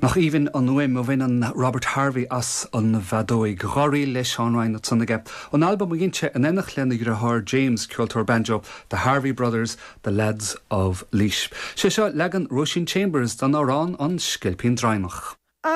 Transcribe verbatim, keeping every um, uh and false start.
Nach aoibhinn an fhuaim a bhaineann Robert Harvey as an bhfeadóig dhá ríl le Seán Ryan ansan aige. An albam a dhein sé in éineacht lena dheartháir James ceoltóir banjo, The Harvey Brothers, The Lads of Laois. Sé seo leagan Róisín Chambers den amhrán an Scilpín Draighneach. Ah!